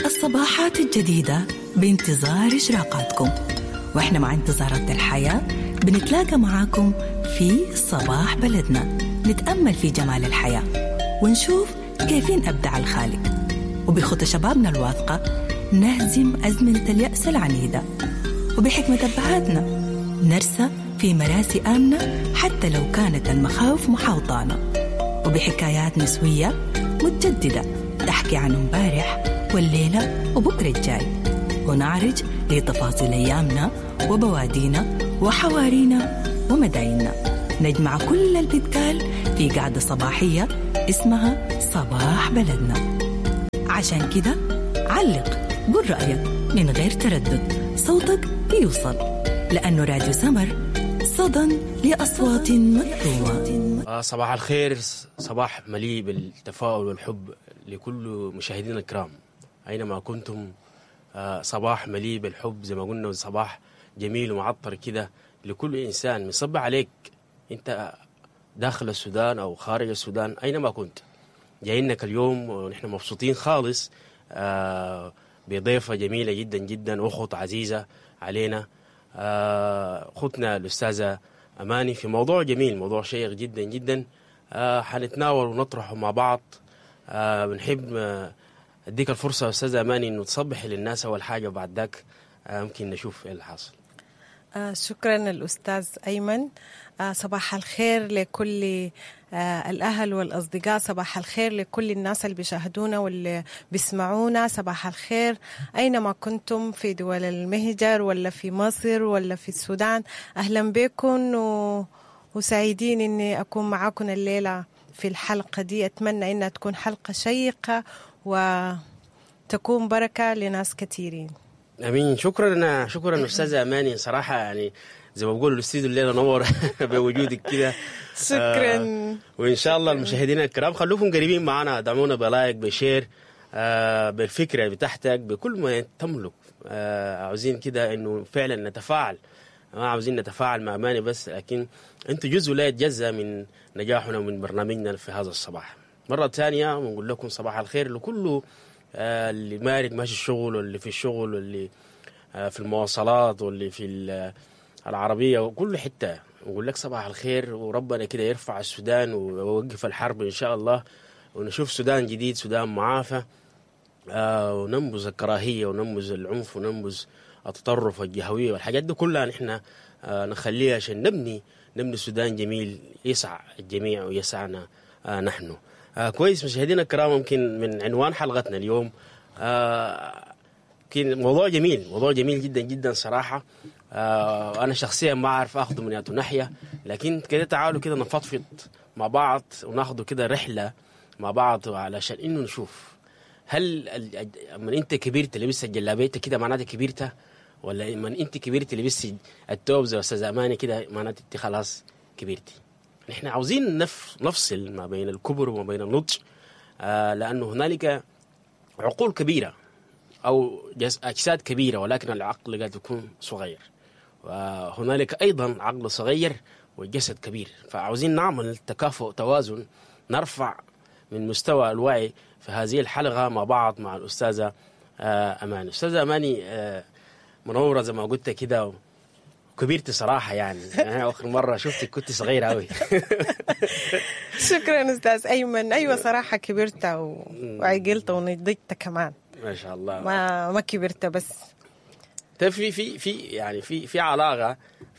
الصباحات الجديدة بانتظار إشراقاتكم، وإحنا مع انتظارات الحياة بنتلاقى معاكم في صباح بلدنا، نتأمل في جمال الحياة ونشوف كيفين أبدع الخالق، وبخطى شبابنا الواثقة نهزم أزمنة اليأس العنيدة، وبحكمة أبهاتنا نرسى في مراسي آمنة حتى لو كانت المخاوف محاوطانا، وبحكايات نسوية متجددة تحكي عن امبارح والليلة وبكرة الجاي، ونعرج لتفاصيل أيامنا وبوادينا وحوارينا ومدايننا. نجمع كل البتقال في قعدة صباحية اسمها صباح بلدنا. عشان كده علق، قول رأيك من غير تردد، صوتك بيوصل، لأنه راديو سمر صدى لأصوات مكتومة. صباح الخير، صباح مليء بالتفاؤل والحب لكل مشاهدينا الكرام أينما كنتم. صباح مليء بالحب زي ما قلنا، صباح جميل ومعطر كده لكل إنسان. مصبح عليك أنت داخل السودان أو خارج السودان أينما كنت، جايينك اليوم ونحن مبسوطين خالص بضيفة جميلة جدا جدا، أخت عزيزة علينا، أختنا الأستاذة أماني، في موضوع جميل، موضوع شيق جدا جدا، حنتناول ونطرحه مع بعض. بنحب أديك الفرصة أستاذة أماني إنه تصبحي للناس أول حاجة، وبعد ذاك ممكن نشوف إيه اللي حاصل. شكرا الأستاذ أيمن. صباح الخير لكل الأهل والأصدقاء، صباح الخير لكل الناس اللي بيشاهدونا واللي بيسمعونا، صباح الخير أينما كنتم في دول المهجر ولا في مصر ولا في السودان. أهلا بكم وسعيدين إني أكون معاكم الليلة في الحلقة دي. أتمنى إنها تكون حلقة شيقة وتكون بركة لناس كثيرين. امين. شكرا شكرا استاذه اماني، صراحة يعني زي ما بقولوا الاستوديو الليلة نور بوجودك كده. شكرا. وان شاء الله المشاهدين الكرام خلوكم قريبين معنا، دعمونا ب like ب share، بالفكرة بتاعتك، بكل ما تملك. عاوزين كده انه فعلا نتفاعل، ما عاوزين نتفاعل مع اماني بس، لكن انتم جزء لا يتجزا من نجاحنا ومن برنامجنا في هذا الصباح. مرة ثانية بنقول لكم صباح الخير لكل اللي مارق ماشي الشغل، واللي في الشغل، واللي في المواصلات، واللي في العربية، وكل حتة. نقول لك صباح الخير، وربنا كده يرفع السودان ويوقف الحرب إن شاء الله، ونشوف سودان جديد، سودان معافى، وننبذ الكراهية وننبذ العنف وننبذ التطرف والجهوية والحاجات دي كلها. نحن نخليها عشان نبني سودان جميل يسع الجميع ويسعنا نحن. كويس مشاهدينا الكرام، ممكن من عنوان حلقتنا اليوم يمكن موضوع جميل، موضوع جميل جدا جدا صراحة. أنا شخصيا ما أعرف أخذه من أي ناحية، لكن كده تعالوا كده نفضفض مع بعض وناخده كده رحلة مع بعض، علشان إنه نشوف هل من أنت كبرت لبست الجلابية كده معناته كبرت، ولا من أنت كبرت لبست التوب زي أستاذ أماني كده معناته أنت خلاص كبرتي. نحن عاوزين نفصل ما بين الكبر وما بين النضج، لأنه هنالك عقول كبيرة أو أجساد كبيرة ولكن العقل قد يكون صغير، وهنالك أيضا عقل صغير والجسد كبير. فعاوزين نعمل تكافؤ، توازن، نرفع من مستوى الوعي في هذه الحلقة مع بعض مع الأستاذة أماني. أستاذة أماني منورة زي ما قلت كده، كبرت صراحة يعني آخر مرة شفتك كنت صغيرة أوي. شكرا أستاذ أيمن. أيوة صراحة كبرت وعقلت ونضجت كمان ما شاء الله. ما كبرت بس. طيب في في في يعني في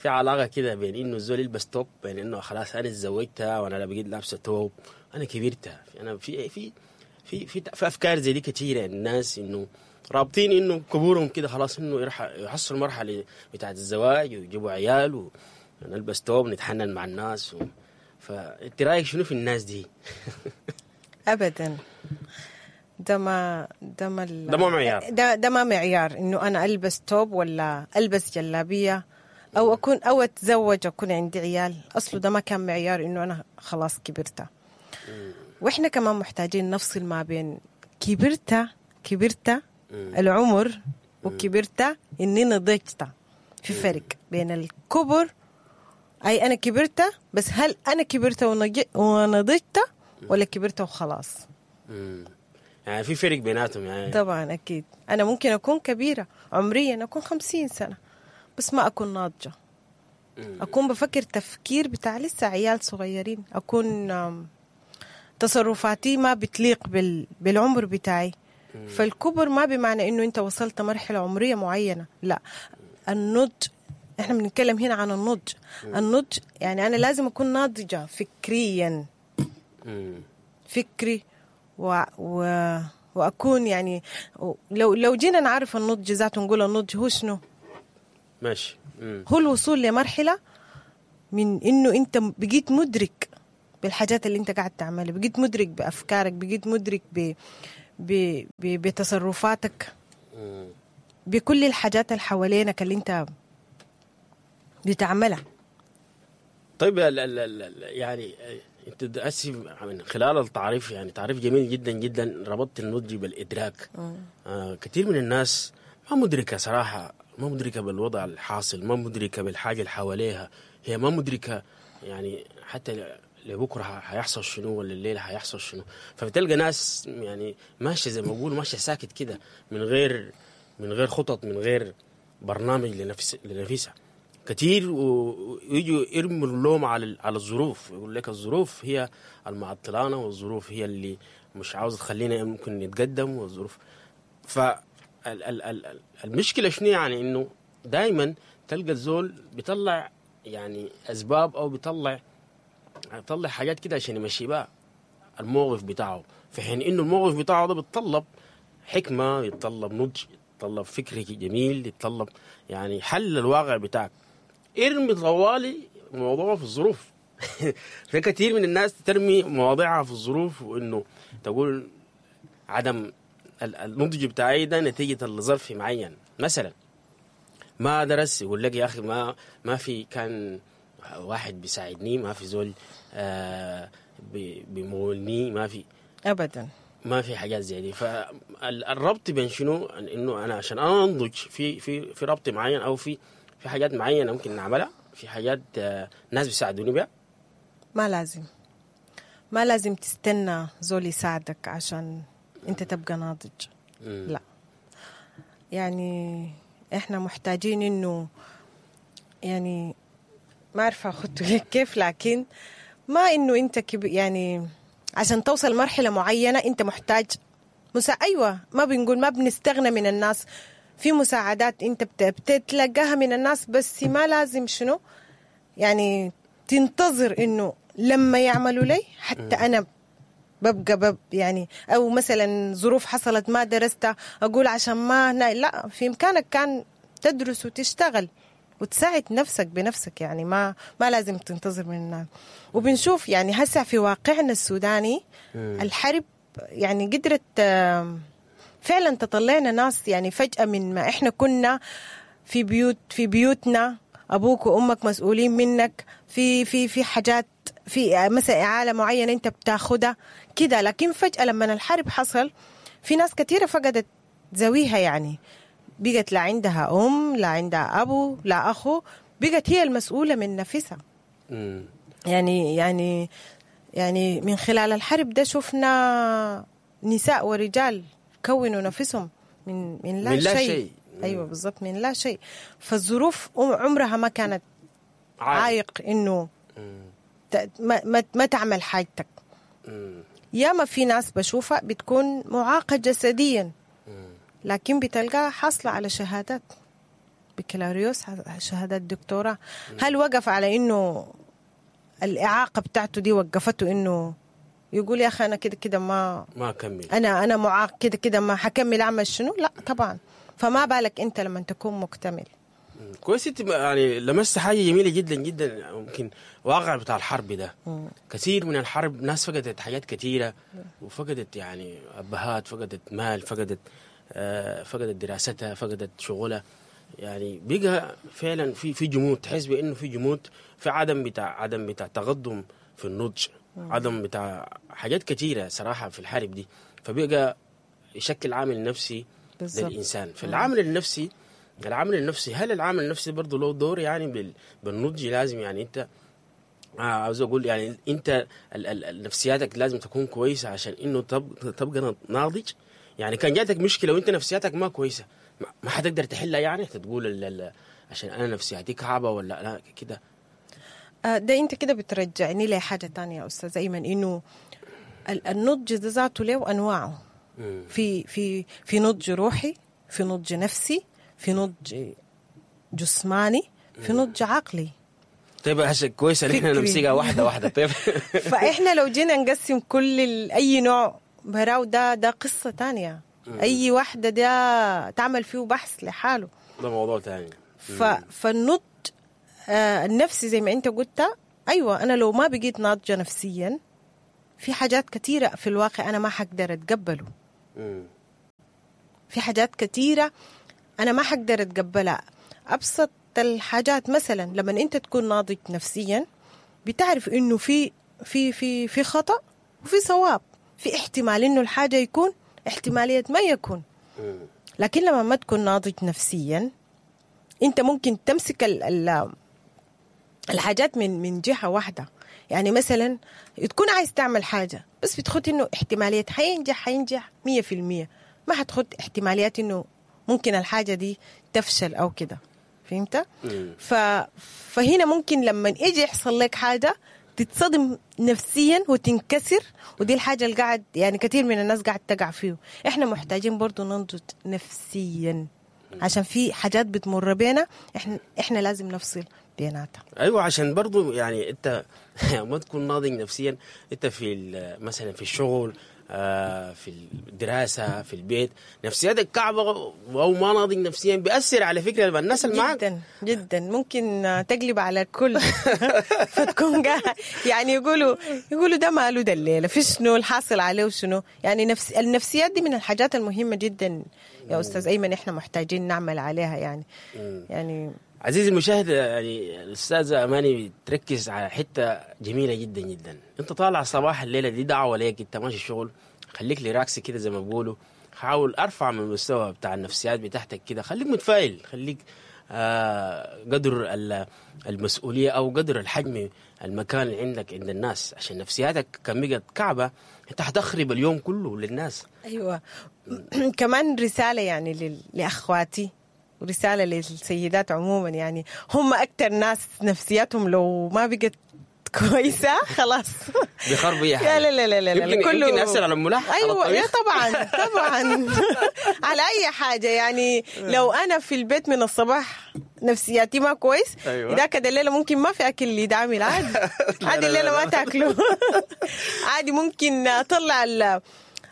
علاقة كده بين إنه الزول يلبس توب، بين إنه خلاص أنا اتزوجتها وأنا لا بقيت لابسة توب، أنا كبرت. أنا في في في في في أفكار زي دي كثيرة، الناس إنه رابطين انه كبورهم كده خلاص انه يحصلوا مرحلة بتاعه الزواج ويجيبوا عيال ونلبس توب نتحنن مع الناس فانت رايك شنو في الناس دي؟ ابدا ده ما معيار، ده ما معيار انه انا البس توب ولا البس جلابية او اكون او اتزوج اكون عندي عيال. اصله ده ما كان معيار انه انا خلاص كبرت. واحنا كمان محتاجين نفصل ما بين كبرت العمر وكبرت إني نضجت. في فرق بين الكبر، أي أنا كبرت، بس هل أنا كبرت ونضجت ولا كبرت وخلاص؟ يعني في فرق بيناتهم يعني. طبعا اكيد انا ممكن اكون كبيرة عمريا، اكون 50 سنة، بس ما اكون ناضجة. اكون بفكر تفكير بتاع لسه عيال صغيرين، اكون تصرفاتي ما بتليق بالعمر بتاعي. فالكبر ما بمعنى انه انت وصلت مرحلة عمرية معينة، لا. النضج، احنا بنتكلم هنا عن النضج. النضج يعني انا لازم اكون ناضجة فكريا. فكري واكون يعني لو جينا نعرف النضج ذاته، نقول النضج هو شنو؟ ماشي. هو الوصول لمرحلة من انه انت بقيت مدرك بالحاجات اللي انت قاعد تعملها، بقيت مدرك بافكارك، بقيت مدرك بتصرفاتك، بكل الحاجات اللي حوالينك اللي انت بتعملها. طيب ال ال ال يعني انت اسف، من خلال التعريف، يعني تعريف جميل جدا جدا، ربطت النضج بالادراك. كثير من الناس ما مدركه صراحة، ما مدركه بالوضع الحاصل، ما مدركه بالحاجة اللي حواليها، هي ما مدركه يعني حتى لبكرة حيحصل شنو ولا الليلة حيحصل شنو. فبتلقى ناس يعني ماشية زي ما بقول ماشية ساكت كده، من غير خطط، من غير برنامج لنفسها كثير، ويجوا يرموا اللوم على الظروف، يقول لك الظروف هي المعطلانه، والظروف هي اللي مش عاوزه تخلينا ممكن نتقدم، والظروف. ف المشكلة شنو؟ يعني انه دائما تلقى الزول بيطلع يعني اسباب او بيطلع حاجات كده عشان يمشي بها الموقف بتاعه، في حين انه الموقف بتاعه ده بيتطلب حكمه، يتطلب نضج، يتطلب فكر جميل، يتطلب يعني حل الواقع بتاعك. ارمي طوالي الموضوع في الظروف. في كثير من الناس ترمي مواضيعها في الظروف، وانه تقول عدم النضج بتاعي ده نتيجة لظرف معين. مثلا ما درس، يقول لك يا اخي ما في كان واحد بيساعدني، ما في زول بيمولني، ما في. ابدا. ما في حاجات زي دي. فالربط بين شنو؟ انه انا عشان انا انضج في ربط معين او في حاجات معينة ممكن نعملها، في حاجات ناس بيساعدوني بها. ما لازم تستنى زول يساعدك عشان انت تبقى ناضج. لا، يعني احنا محتاجين انه يعني ما عارفه اخدته كيف، لكن ما انه انت يعني عشان توصل مرحلة معينة انت محتاج ايوه، ما بنقول ما بنستغنى من الناس، في مساعدات انت بتتلقاها من الناس، بس ما لازم شنو يعني تنتظر انه لما يعملوا لي حتى انا ببقى يعني، او مثلا ظروف حصلت ما درست، اقول عشان ما لا، في امكانك كان تدرس وتشتغل وتساعد نفسك بنفسك، يعني ما لازم تنتظر من الناس. وبنشوف يعني هسه في واقعنا السوداني الحرب يعني قدرت فعلا تطلعنا ناس يعني فجأة من ما احنا كنا في بيوتنا، ابوك وامك مسؤولين منك في حاجات، في مثلا اعاله معينة انت بتاخدها كده، لكن فجاة لما الحرب حصل في ناس كثيرة فقدت ذويها، يعني بقت لا عندها ام، لا عندها ابو، لا اخو، بقت هي المسؤولة من نفسها. يعني من خلال الحرب ده شفنا نساء ورجال كونوا نفسهم من لا من لا شيء. شيء. ايوه بالضبط، من لا شيء. فالظروف عمرها ما كانت عائق انه ما تعمل حاجتك. ياما في ناس بشوفها بتكون معاقة جسديا، لكن بتلقاها حاصلة على شهادات بكالوريوس، شهادات دكتوراه. هل وقف على انه الإعاقة بتاعته دي وقفته انه يقول يا اخي انا كده كده ما ما كمل؟ انا معاق كده كده ما حكمل، اعمل شنو؟ لا طبعا، فما بالك انت لما تكون مكتمل. كويس، انت يعني لمست حاجة جميلة جدا جدا. ممكن واقع بتاع الحرب ده، كثير من الحرب ناس فقدت حاجات كثيره، وفقدت يعني ابهات، فقدت مال، فقدت دراستها، فقدت شغلها. يعني بقى فعلا في جمود، تحس بانه في جمود، في عدم بتاع تقدم في النضج، عدم بتاع حاجات كثيرة صراحة في الحرب دي، فبقى يشكل عامل نفسي للانسان. فالعامل النفسي، هل العامل النفسي برضه له دور يعني بالنضج؟ لازم يعني انت عاوز اقول يعني انت نفسياتك لازم تكون كويسة عشان انه تبقى ناضج. يعني كان جاتك مشكلة وانت نفسياتك ما كويسة ما حتقدر تحلها، يعني تقول عشان انا نفسياتي كعبه ولا لا كده. ده انت كده بترجعني لحاجة تانية يا استاذ ايمن، انه النضج ده ذاته له انواعه. في في في نضج روحي، في نضج نفسي، في نضج جسماني، في نضج عقلي. طيب هسه كويس ان احنا نمسكها واحدة واحدة. طيب فاحنا لو جينا نقسم كل اي نوع براو ده قصة تانية. اي واحدة ده تعمل فيه بحث لحاله، ده موضوع تاني. فالنضج النفسي زي ما انت قلت، ايوه انا لو ما بقيت ناضجة نفسيا في حاجات كثيرة في الواقع انا ما حقدر اتقبله. في حاجات كثيرة انا ما حقدر اتقبلها. ابسط الحاجات مثلا لما انت تكون ناضج نفسيا بتعرف انه في في في في خطأ وفي صواب، في احتمال انه الحاجة يكون، احتمالية ما يكون. لكن لما ما تكون ناضج نفسيا انت ممكن تمسك ال الحاجات من جهة واحدة. يعني مثلا تكون عايز تعمل حاجة بس بتخد انه احتمالية حينجح 100%، ما حتخد احتماليات انه ممكن الحاجة دي تفشل او كده. فهمت؟ فهنا ممكن لما يجي يحصل لك حاجة تتصدم نفسيا وتنكسر، ودي الحاجة اللي قاعد يعني كثير من الناس قاعد تقع فيه. احنا محتاجين برضو ننضج نفسيا عشان في حاجات بتمر بينا احنا لازم نفصل بيناتها. ايوه، عشان برضو يعني انت ما تكون ناضج نفسيا، انت في مثلا في الشغل، في الدراسة، في البيت، نفسياتك كعبة أو ما ناضج نفسيا بيأثر على فكرة الناس اللي معك جدا جدا، ممكن تقلب على الكل. فتكون يعني يقولوا ده ماله ده الليلة، في شنو الحاصل عليه وشنو يعني. النفسيات دي من الحاجات المهمة جدا يا أستاذ أيمن، إحنا محتاجين نعمل عليها يعني. يعني عزيزي المشاهد، يعني الأستاذة أماني بتركز على حتة جميلة جدا جدا. أنت طالع صباح الليلة دي دعوة ليك، أنت ماشي الشغل، خليك relax كده زي ما بيقولوا، حاول أرفع من المستوى بتاع النفسيات بتاعتك كده، خليك متفائل، خليك قدر المسؤولية أو قدر الحجم المكان اللي عندك عند الناس، عشان نفسياتك كان بقت كعبة أنت هتخرب اليوم كله للناس. أيوة. كمان رسالة يعني لأخواتي، ورسالة للسيدات عموما، يعني هم أكتر ناس نفسياتهم لو ما بقت كويسة خلاص بيخربوا أي حاجة. لا لا لا لا لا، يمكن يأثر على الملاح. أيوة يا طبعا طبعا على أي حاجة. يعني لو أنا في البيت من الصباح نفسياتي ما كويس، أيوة. إذا كده الليلة ممكن ما في أكل اللي يدعمل عادي. عادي الليلة ما تاكله. عادي ممكن أطلع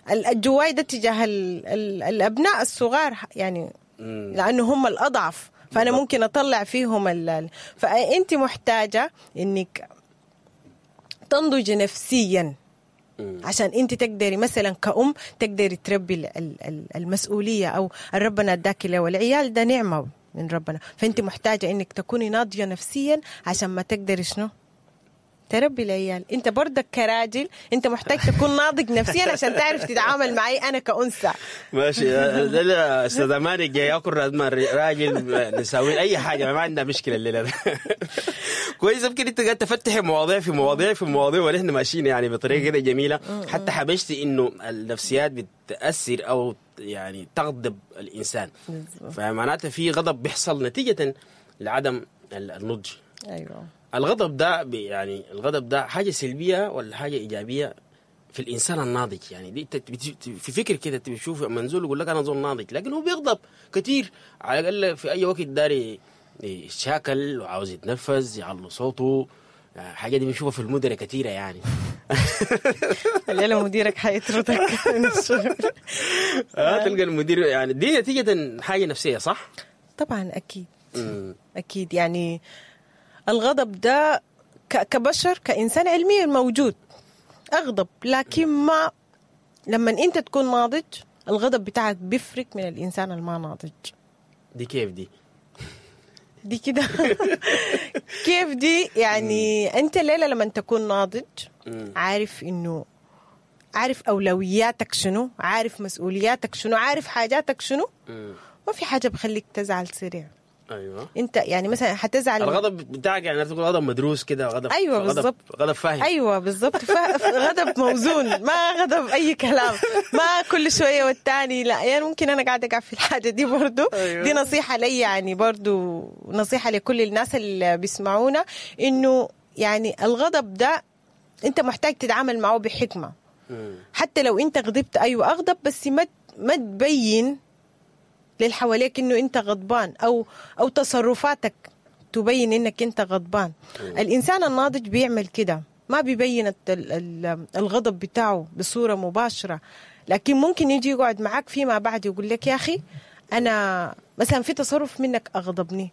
الجواي ده تجاه الأبناء الصغار يعني، لأنه هم الأضعف، فأنا ممكن أطلع فيهم فأنت محتاجة إنك تنضج نفسيا عشان أنت تقدري مثلا كأم تقدري تربي المسؤولية أو ربنا اداك له، والعيال ده نعمة من ربنا، فأنت محتاجة إنك تكوني ناضجة نفسيا عشان ما تقدري شنو تربي العيال. انت برضك كراجل انت محتاج تكون ناضج نفسيا عشان تعرف تتعامل معي انا كأنثى. ماشي. لا استاذ اماني جاي ياكل راجل نساوي اي حاجة، ما عندنا مشكلة الليلة. كويس، يمكن انت قاعد تفتحي مواضيع في مواضيع في مواضيع ونحن ماشيين يعني بطريقة كده جميلة. حتى حبشتي انه النفسيات بتاثر او يعني تغضب الانسان، فمعناته في غضب بيحصل نتيجة لعدم النضج. ايوه، الغضب ده يعني الغضب ده حاجة سلبية ولا حاجة إيجابية في الإنسان الناضج؟ يعني دي في فكر كده بتشوف منزول يقول لك أنا زول ناضج، لكن هو بيغضب كتير، على الأقل في أي وقت داري يشاكل وعاوز يتنفذ، يعلو صوته، حاجة دي بنشوفها في المدراء كثيرة يعني. الليلة مديرك حيطردك من الشغل. تلقى المدير يعني دي نتيجة حاجة نفسية، صح؟ طبعا أكيد. أكيد يعني الغضب ده كبشر كإنسان علميا موجود، أغضب، لكن ما لما أنت تكون ناضج الغضب بتاعك بيفرق من الإنسان الما ناضج. دي كيف دي؟ دي كده كيف دي؟ يعني أنت الليلة لما تكون ناضج عارف إنه عارف أولوياتك شنو، عارف مسؤولياتك شنو، عارف حاجاتك شنو، ما في حاجة بخليك تزعل سريع. ايوه. انت يعني مثلا حتزعل، الغضب بتاعك يعني تقول غضب مدروس كده، غضب. أيوة غضب بالضبط. غضب فاهم. ايوه بالضبط، غضب موزون، ما غضب اي كلام، ما كل شوية والتاني لا. يعني ممكن انا قاعدة اقع في الحاجة دي برضو. أيوة. دي نصيحة لي يعني، برضو نصيحة لكل الناس اللي بيسمعونا، انه يعني الغضب ده انت محتاج تتعامل معه بحكمه. حتى لو انت غضبت، ايوه اغضب، بس ما تبين للحواليك انه انت غضبان، او تصرفاتك تبين انك انت غضبان. الانسان الناضج بيعمل كده، ما بيبين الغضب بتاعه بصورة مباشرة، لكن ممكن يجي يقعد معاك فيما بعد يقول لك يا اخي انا مثلا في تصرف منك اغضبني،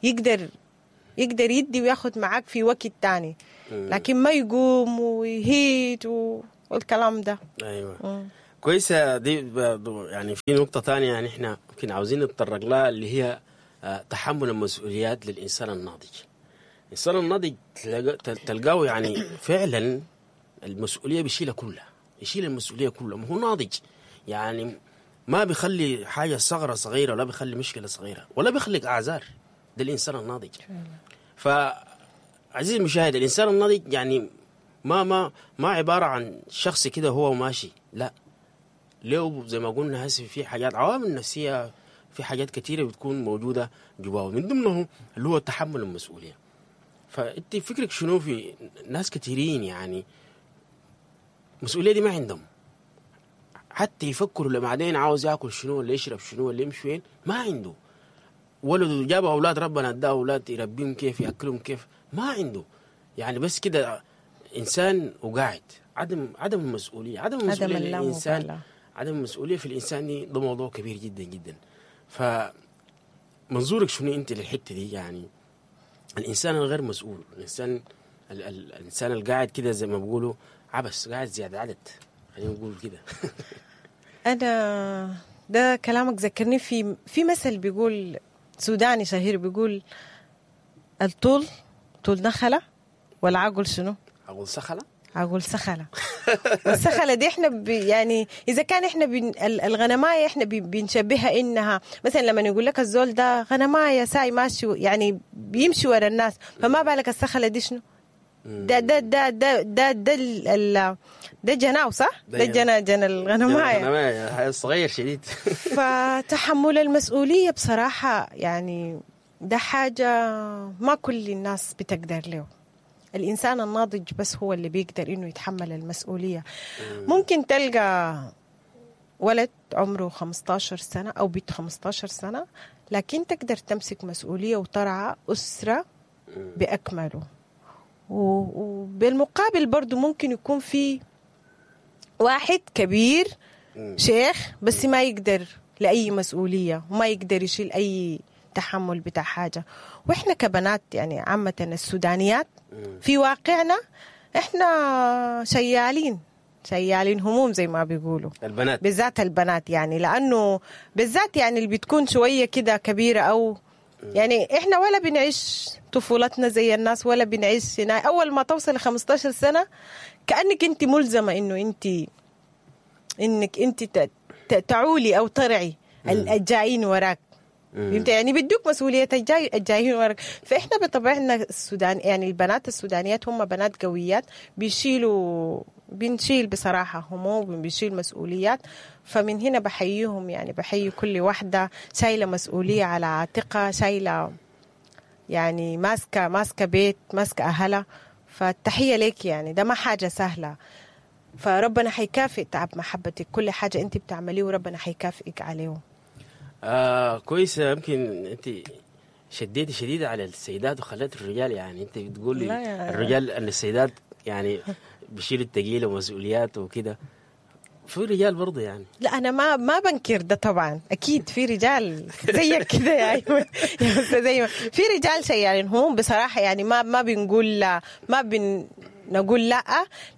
يقدر يدي وياخد معاك في وقت تاني، لكن ما يقوم ويهيت والكلام ده. ايوه كويسة دي برضو. يعني في نقطة ثانية يعني احنا يمكن عاوزين نتطرق لها، اللي هي تحمل المسؤوليات للانسان الناضج. الانسان الناضج تلقاه يعني فعلا المسؤولية بيشيلها كلها، يشيل المسؤولية كلها، ما هو ناضج يعني، ما بيخلي حاجة صغيرة صغيرة، ولا بيخلي مشكلة صغيرة، ولا بيخلق اعذار. ده الانسان الناضج. فعزيزي المشاهد، الانسان الناضج يعني ما ما ما عبارة عن شخص كده هو ماشي، لا، له زي ما قلنا هسه في حاجات، عوامل نفسية، في حاجات كثيرة بتكون موجودة جواه، من ضمنه اللي هو تحمل المسؤولية. فانت فكرك شنو في ناس كثيرين يعني المسؤولية دي ما عندهم، حتى يفكروا لما بعدين عاوز ياكل شنو ولا يشرب شنو ولا يمشي وين، ما عنده. ولده جاب اولاد، ربنا اداه اولاد، يربيهم كيف، ياكلهم كيف، ما عنده. يعني بس كده انسان وقاعد، عدم المسؤولية، عدم المسؤولية للانسان، اللامبالاة. عدم المسؤولية في الانسان دي ده موضوع كبير جدا جدا. فمنظورك شنو انت للحتة دي؟ يعني الانسان الغير مسؤول، الانسان الانسان القاعد كده زي ما بيقولوا عبس، قاعد زيادة عدد، خلينا نقول كده. أنا ده كلامك ذكرني في مثل بيقول سوداني شهير، بيقول الطول طول نخلة والعقل شنو؟ اقول سخله. عقل سخلة. والسخلة دي احنا يعني إذا كان احنا الغنماية احنا بنشبهها إنها مثلا لما يقول لك الزول ده غنماية ساي ماشي يعني بيمشي ورا الناس، فما بالك السخلة دي شنو؟ ده ده ده ده ده ده ده جناو صح؟ ده ده جنا الغنماية. الغنماية صغير شديد. فتحمل المسؤولية بصراحة يعني ده حاجة ما كل الناس بتقدر له. الإنسان الناضج بس هو اللي بيقدر إنه يتحمل المسؤولية. ممكن تلقى ولد عمره 15 سنة أو بنت 15 سنة، لكن تقدر تمسك مسؤولية وترعى أسرة بأكمله. وبالمقابل برضو ممكن يكون في واحد كبير شيخ بس ما يقدر لأي مسؤولية وما يقدر يشيل أي تحمل بتاع حاجة. وإحنا كبنات يعني عامة السودانيات في واقعنا إحنا شيالين هموم زي ما بيقولوا البنات، بالذات البنات يعني، لأنه بالذات يعني اللي بتكون شوية كده كبيرة أو يعني إحنا ولا بنعيش طفولتنا زي الناس ولا بنعيش هنا. أول ما توصل 15 سنة كأنك أنت ملزمة إنه أنت إنك أنت تعولي أو ترعي الجايين وراك. فهمت يعني؟ بيدوك مسؤولية الجايين وراك. فإحنا بطبعنا السودان يعني البنات السودانيات هم بنات قويات، بنشيل بصراحة هموم وبنشيل مسؤوليات. فمن هنا بحييهم يعني، بحيي كل واحدة شايلة مسؤولية على عاتقها، شايلة يعني ماسكة بيت، ماسكة أهلها. فالتحية لك يعني، ده ما حاجة سهلة. فربنا حيكافئ تعب محبتك، كل حاجة أنت بتعمليه وربنا حيكافئك عليه. كويس. يمكن أنت شديتي شديدة على السيدات وخليت الرجال، يعني أنت بتقولي الرجال أن السيدات يعني بيشيلوا الثقيل ومسؤوليات وكده، في رجال برضه يعني. لا أنا ما بنكر ده طبعا، أكيد في رجال زيك كده يا أيمن، زي ما في رجال شيالين هم بصراحة يعني، ما بنقول لا، ما بنقول لا،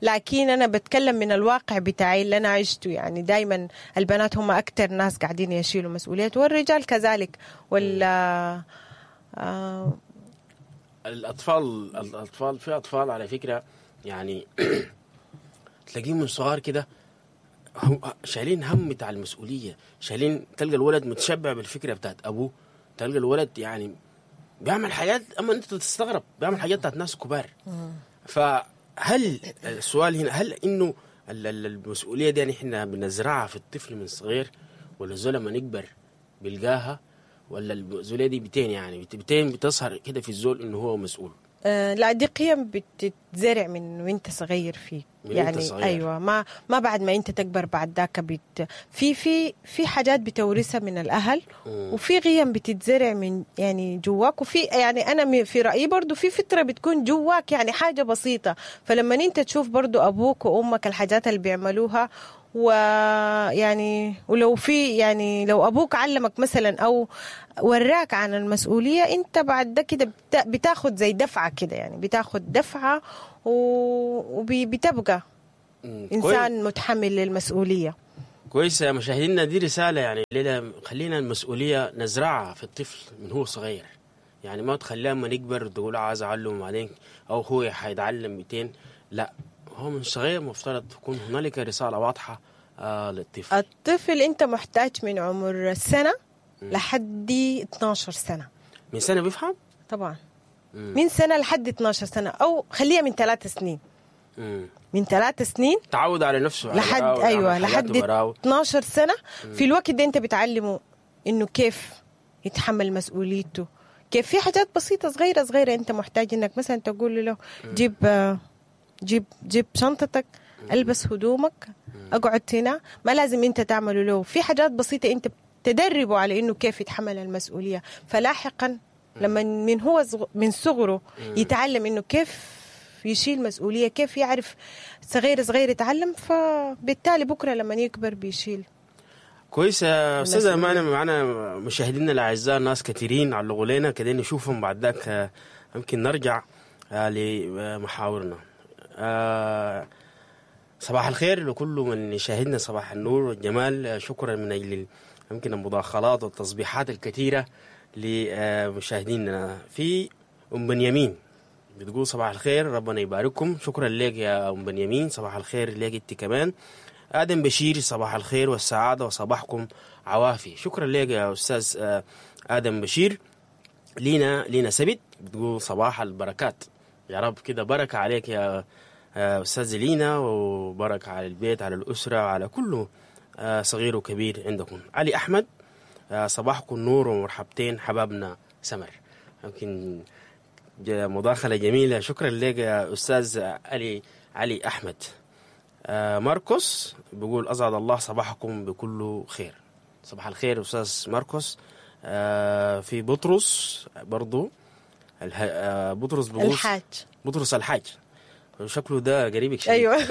لكن أنا بتكلم من الواقع بتاعي اللي أنا عشته. يعني دايما البنات هم أكتر ناس قاعدين يشيلوا مسؤوليات، والرجال كذلك. ولا الأطفال في أطفال على فكرة يعني تلاقيهم من صغار كده شايلين هم بتاع المسؤولية، شايلين، تلقى الولد متشبع بالفكرة بتاعت أبوه، تلقى الولد يعني بيعمل حاجات اما انت تستغرب، بيعمل حاجات بتاعت ناس كبار. فهل السؤال هنا، هل انه المسؤولية دي نحن بنزرعها في الطفل من صغير، ولا الزول لما يكبر بيلقاها، ولا المسؤولية دي بتين يعني بتين بتظهر كده في الزول انه هو مسؤول؟ لا، دي قيم بتتزرع من وانت صغير فيك. من يعني وانت صغير. ايوه، ما بعد ما انت تكبر بعد ذاك في في في حاجات بتورثها من الاهل، وفي قيم بتتزرع من يعني جواك، وفي يعني انا في رايي برضو في فطره بتكون جواك، يعني حاجة بسيطة. فلما انت تشوف برضو ابوك وامك الحاجات اللي بيعملوها، ويعني ولو في يعني لو ابوك علمك مثلا او وراك عن المسؤولية، انت بعد ده كده بتاخد زي دفعه كده، يعني بتاخد دفعه وبتبقى انسان متحمل للمسؤولية. كويس يا مشاهدينا، دي رسالة يعني ليلة، خلينا المسؤولية نزرعها في الطفل من هو صغير، يعني ما تخليها لما يكبر تقول عايز اعلمه بعدين او هو حيتعلم 200، لا، هو من صغير مفترض تكون هنالك رسالة واضحة للطفل. الطفل انت محتاج من عمر سنة لحد 12 سنة. من سنة بيفهم؟ طبعا. من سنة لحد 12 سنة، او خليها من 3 سنين. من 3 سنين تعود على نفسه لحد ايوه لحد 12 سنة. في الوقت ده انت بتعلمه انه كيف يتحمل مسؤوليته، كيف في حاجات بسيطة صغيرة صغيرة انت محتاج انك مثلا تقول له جيب جيب جيب شنطتك، البس هدومك، اقعد هنا. ما لازم انت تعمله له، في حاجات بسيطة انت تدربه على انه كيف يتحمل المسؤولية. فلاحقا لما من هو من صغره يتعلم انه كيف يشيل مسؤولية، كيف يعرف صغير صغير يتعلم، فبالتالي بكره لما يكبر بيشيل. كويس يا استاذه امانه، معنا مشاهدينا الاعزاء ناس كثيرين علقوا لنا كده، نشوفهم بعد ذاك يمكن نرجع لمحاورنا. صباح الخير لكل من يشاهدنا، صباح النور والجمال. شكرا من اجل يمكن المداخلات والتصبيحات الكثيرة لمشاهدينا. في ام بنيامين بتقول صباح الخير، ربنا يبارككم. شكرا لك يا ام بنيامين، صباح الخير لك انت كمان. ادم بشير صباح الخير والسعادة وصباحكم عوافي. شكرا لك يا استاذ ادم بشير. لينا سبت بتقول صباح البركات، يا رب كده بركة عليك يا استاذ لينا، وبركة على البيت، على الاسرة، على كله صغير وكبير عندكم. علي احمد صباحكم نور ومرحبتين حبابنا سمر. يمكن مداخله جميلة، شكرا لك يا استاذ علي احمد. ماركوس بيقول اسعد الله صباحكم بكل خير. صباح الخير استاذ ماركوس. في بطرس برضو، بطرس بيقول الحاج، بطرس الحاج شكله ده قريبك شديد. ايوه.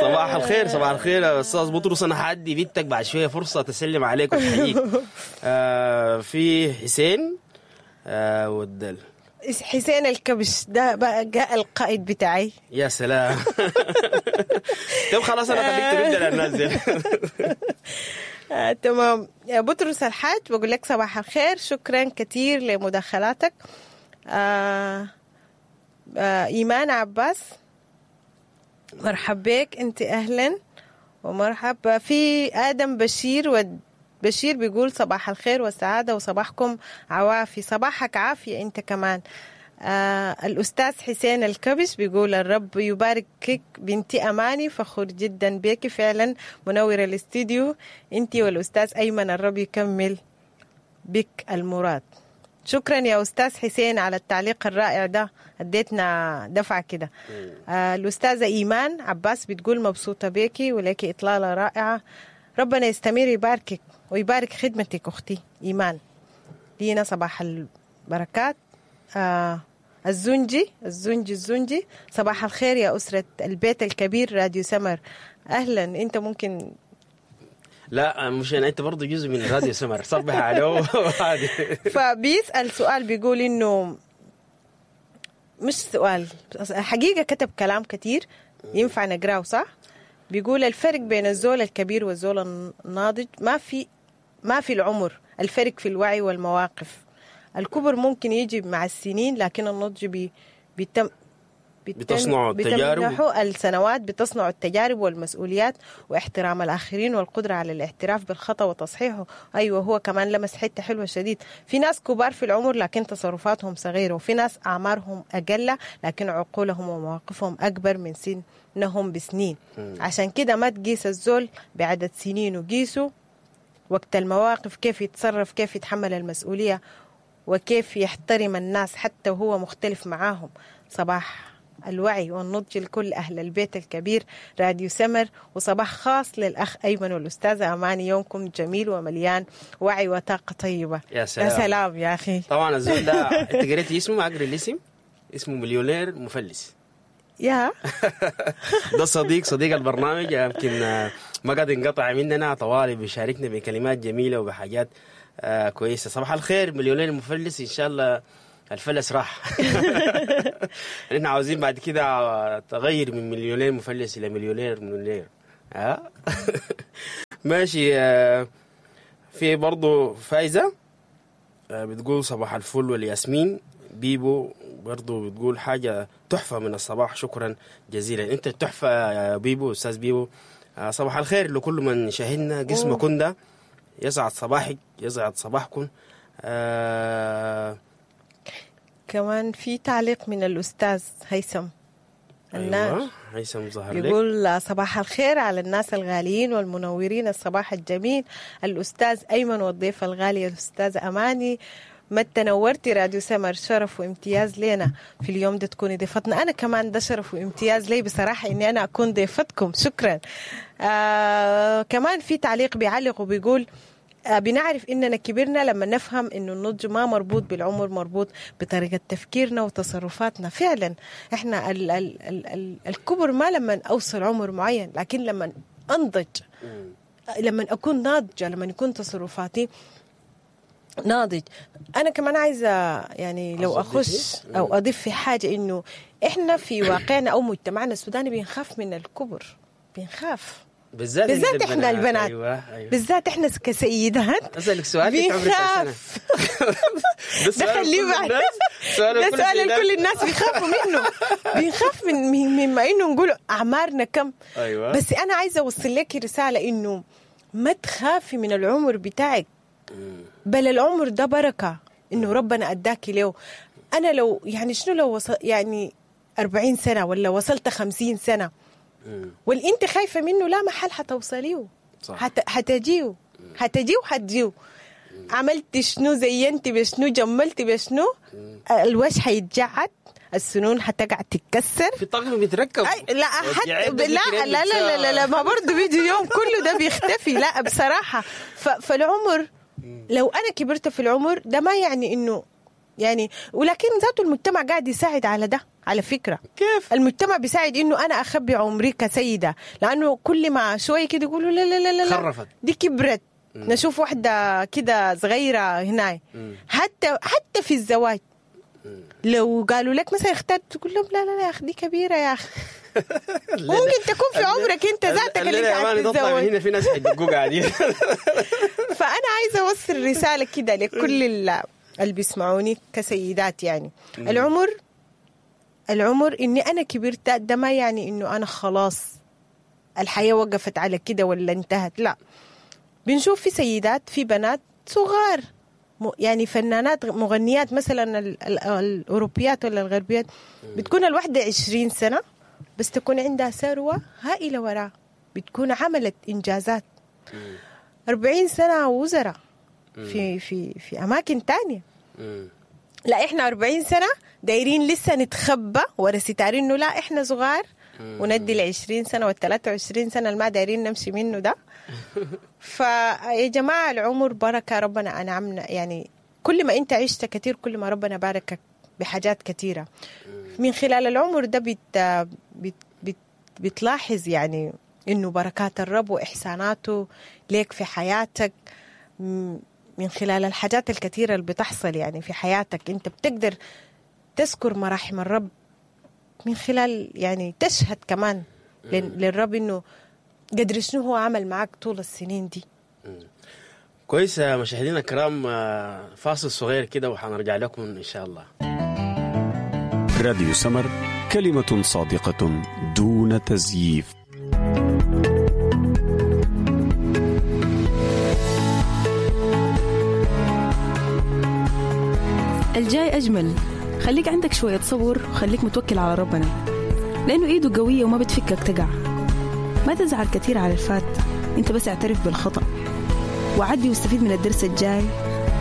صباح الخير، صباح الخير يا استاذ بطرس. انا حادي بنتك بعد شوية فرصة تسلم عليك وتحييك. في حسين والدل، حسين الكبش ده بقى القائد بتاعي. يا سلام. طب خلاص انا خليك ترد على الناس دي. تمام يا بطرس الحاج، بقول لك صباح الخير، شكرا كثير لمداخلاتك. إيمان عباس مرحب بك انت، اهلا ومرحب. في ادم بشير، بشير بيقول صباح الخير والسعادة وصباحكم عوافي. صباحك عافية انت كمان. الأستاذ حسين الكبش بيقول الرب يباركك بنتي أماني، فخور جدا بك، فعلا منورة الاستديو انت والأستاذ أيمن، الرب يكمل بك المراد. شكرا يا أستاذ حسين على التعليق الرائع ده، اديتنا دفعة كده. الأستاذة إيمان عباس بتقول مبسوطة بيكي ولك إطلالة رائعة، ربنا يستمر يباركك ويبارك خدمتك أختي إيمان. لينا صباح البركات. الزنجي الزنجي الزنجي صباح الخير يا أسرة البيت الكبير راديو سمر، أهلا. أنت ممكن لا مش أنا، أنت برضو جزء من راديو سمر، صبح عليه. فبيسأل سؤال بيقول إنه مش سؤال حقيقة، كتب كلام كتير ينفع نقراه صح؟ بيقول الفرق بين الزول الكبير والزول الناضج ما في العمر، الفرق في الوعي والمواقف. الكبر ممكن يجي مع السنين، لكن النضج بيتم بتصنعوا التجارب. بتمنحوا السنوات بتصنعوا التجارب والمسؤوليات واحترام الآخرين والقدرة على الاعتراف بالخطأ وتصحيحه. أيوة هو كمان لمس حتة حلوة شديد. في ناس كبار في العمر لكن تصرفاتهم صغيرة، وفي ناس أعمارهم أقل لكن عقولهم ومواقفهم أكبر من سنهم بسنين. عشان كده ما تقيس الزول بعدد سنين، وقيسه وقت المواقف، كيف يتصرف، كيف يتحمل المسؤولية، وكيف يحترم الناس حتى وهو مختلف معاهم. صباح الوعي والنضج لكل أهل البيت الكبير راديو سمر، وصباح خاص للأخ أيمن والأستاذة أماني. يومكم جميل ومليان وعي وطاقة طيبة. يا سلام. يا سلام يا أخي. طبعا الزول ده أنت قريتي اسمه؟ ما أقري الاسم، اسمه مليونير مفلس. يا ده صديق البرنامج، يمكن ما قد انقطع مننا طوالي، بيشاركنا بكلمات جميلة وبحاجات كويسة. صباح الخير مليونير مفلس، إن شاء الله الفلس راح. نحن عاوزين بعد كده تغير من مليونير مفلس إلى مليونير مليونير. ماشي. في برضو فايزة بتقول صباح الفل والياسمين. بيبو برضو بتقول حاجة تحفة من الصباح، شكرا جزيلا. انت التحفة يا بيبو، أستاذ بيبو. صباح الخير لكل من شاهدنا. قسمة كندا، يسعد صباحك، يسعد صباحكم. كمان في تعليق من الأستاذ هيثم النار. أيوة، هيثم ظهر لك. يقول صباح الخير على الناس الغاليين والمنورين، الصباح الجميل الأستاذ أيمن والضيف الغالي الأستاذ أماني. ما تنورتي راديو سمر، شرف وامتياز لنا في اليوم ده تكوني ضيفتنا. أنا كمان ده شرف وامتياز لي بصراحة إني أنا أكون ضيفتكم، شكرا. كمان في تعليق بيعلق وبيقول بنعرف إننا كبرنا لما نفهم إنه النضج ما مربوط بالعمر، مربوط بطريقة تفكيرنا وتصرفاتنا. فعلا إحنا ال ال ال ال الكبر ما لما أوصل عمر معين، لكن لما أنضج، لما أكون ناضجة، لما يكون تصرفاتي ناضج. أنا كمان عايزة يعني لو أخش أو أضيف في حاجة، إنه إحنا في واقعنا أو مجتمعنا السوداني بنخاف من الكبر، بنخاف بالذات إحنا البنات. أيوة. أيوة. بالذات إحنا كسيدات. أسألك سؤال، بنخاف. ده خليه بعد، ده سؤال لكل الناس بيخافوا منه، بنخاف من مما إنه نقول أعمارنا كم. أيوة. بس أنا عايزة أوصل لك رسالة إنه ما تخافي من العمر بتاعك، بل العمر ده بركة إنه ربنا أداكي له. أنا لو يعني شنو لو وصل يعني 40 سنة ولا وصلت 50 سنة واللي أنت خايفة منه لا محل حتوصليه، حتجيه حتجيه وحتجيه. عملت شنو، زينتي بشنو، جملتي بشنو، الوش حيتجعد، السنون حتقع تتكسر، في طقم بيتركب. لا حتى لا لا لا لا, لا ما برضه بيجي يوم كله ده بيختفي. لا بصراحة فالعمر لو أنا كبرت في العمر ده ما يعني إنه يعني، ولكن ذاته المجتمع قاعد يساعد على ده على فكرة. كيف؟ المجتمع بيساعد إنه أنا أخبي عمري كسيدة، لأنه كل ما شوي كده يقولوا لا لا لا لا خرفت دي كبرت. نشوف واحدة كده صغيرة هنا. حتى في الزواج لو قالوا لك مثلا اخترت تقول لهم لا لا لا يا أخي دي كبيرة يا أخي. ممكن تكون في عمرك انت ذاتك اللي انت عايز تتزوج. هنا في ناس حيدقوك قاعدين. فانا عايزه اوصل رسالة كده لكل اللي بيسمعوني كسيدات، يعني العمر اني انا كبرت ده ما يعني انه انا خلاص الحياة وقفت على كده ولا انتهت. لا، بنشوف في سيدات، في بنات صغار يعني فنانات مغنيات مثلا الاوروبيات ولا الغربيات، بتكون الواحدة 20 سنة بس تكون عندها ثروة هائلة وراها، بتكون عملت إنجازات. 40 سنة وزراء في في في أماكن تانية. لا إحنا 40 سنة دايرين لسه نتخبى ورا ستار إنه لا إحنا صغار، وندي 20 سنة وال23 سنة اللي ما دايرين نمشي منه ده. فيا جماعة العمر بركة، ربنا أنعمنا يعني كل ما أنت عشت كتير كل ما ربنا باركك بحاجات كتيرة. من خلال العمر ده بت بت بت بتلاحظ يعني إنه بركات الرب وإحساناته ليك في حياتك، من خلال الحاجات الكثيرة اللي بتحصل يعني في حياتك أنت بتقدر تذكر مراحم الرب من خلال يعني تشهد كمان للرب إنه قدر شنو هو عمل معك طول السنين دي. كويس مشاهدينا الكرام، فاصل صغير كده وحنرجع لكم إن شاء الله. راديو سمر كلمة صادقة دون تزييف. الجاي أجمل. خليك عندك شوية صبر وخليك متوكل على ربنا، لأنه إيده قوية وما بتفكك تقع. ما تزعل كثير على الفات، أنت بس اعترف بالخطأ وعدي واستفيد من الدرس الجاي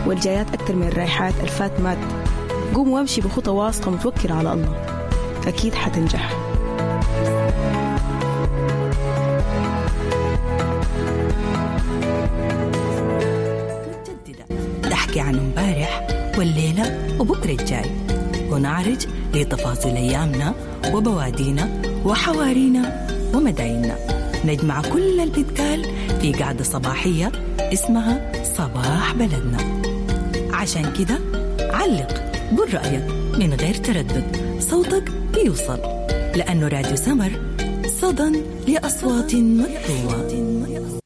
والجايات أكثر من الرايحات. الفات مات، قوم وامشي بخطى واثقة متوكل على الله، أكيد حتنجح. متجددة تحكي عن امبارح والليلة وبكرة الجاي، ونعرج لتفاصيل أيامنا وبوادينا وحوارينا ومدايننا. نجمع كل اللي بيتقال في قعدة صباحية اسمها صباح بلدنا. عشان كده علق، قول رأيك من غير تردد، صوتك بيوصل، لأنه راديو سمر صدى لأصوات مكتومة.